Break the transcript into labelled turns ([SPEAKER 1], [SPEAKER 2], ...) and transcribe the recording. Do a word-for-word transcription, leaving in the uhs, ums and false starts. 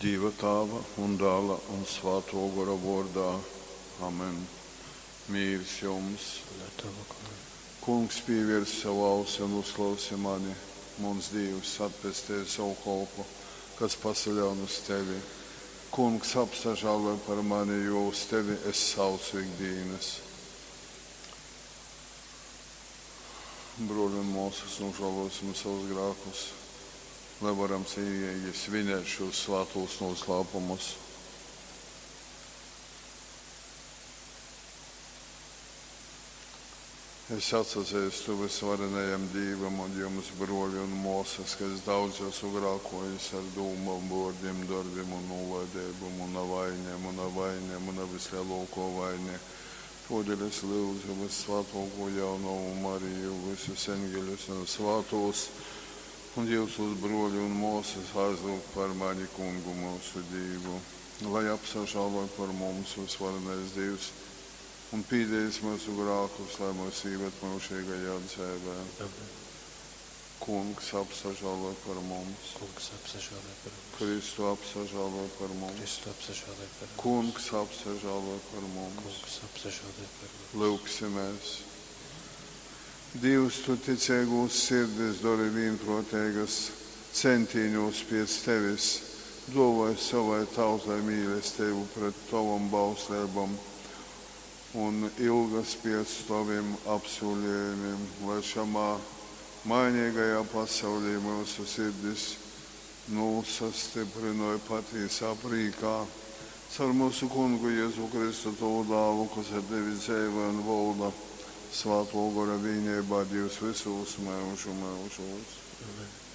[SPEAKER 1] Dīva Tāva un Dāla un Svātō Gora vōrdā. Amen. Mīrs jums!
[SPEAKER 2] Un ar tavu goru.
[SPEAKER 1] Kungs, pīvērs savu ausi un uzklausi mani. Muns Dīvs, atpestej sovu kolpu, kas pasaļaun uz tevi. Kungs, apsažāloj par mani, jo uz tevi es saucu ik dīnas. Brōļi un mōsas, nožālosim savus grēkus, lai varam cīnīgi svinēt šos svātos noslēpumus. Es atsazīstu visvarenajam Dīvam un jums, brōļi un mōsas, ka es daudz esmu grākojis ar dūmām, vōrdiem, darbiem un nūlaideibu. Muna vaine, muna vaine, muna vislielākā vaine. Tōdēļ es lyudzu Vyssvātōkū Jaunovu Mariju, visus eņģeļus un svātos, un jyusus, brōļi un mōsas, aizlyugt par mani Kungu myusu Dīvu, lai apsažāloj par mums visvarenais Dīvs un pīdējis myusu grākus, lai mūs īved myužīgajā dzeivē.
[SPEAKER 2] Amen.
[SPEAKER 1] Kungs, apsažāloj par mums.
[SPEAKER 2] Kungs, apsažāloj par mums.
[SPEAKER 1] Kristu, apsažāloj par mums.
[SPEAKER 2] Kristu, apsažāloj par mums.
[SPEAKER 1] Kungs, apsažāloj par mums.
[SPEAKER 2] Kungs, apsažāloj par mums.
[SPEAKER 1] Lūgsimies. Dievs, tu ticeigūs sirdis dori vienprātīgas centīņos pēc tevis, dāvāj savai tautai mīlestību pret tavam bausleibam un ilgas pēc taviem apsolījumiem, lai šamā mainīgajā pasaulī mūsu sirdis nosastiprinoja patīsā prīkā. Caur mūsu kungu Jēzu Kristu, tavu dālu, kas ar tevi dzīvo un valda Svāto Gora vienībā, Dievs visos mūžu mūžos.
[SPEAKER 2] Amen.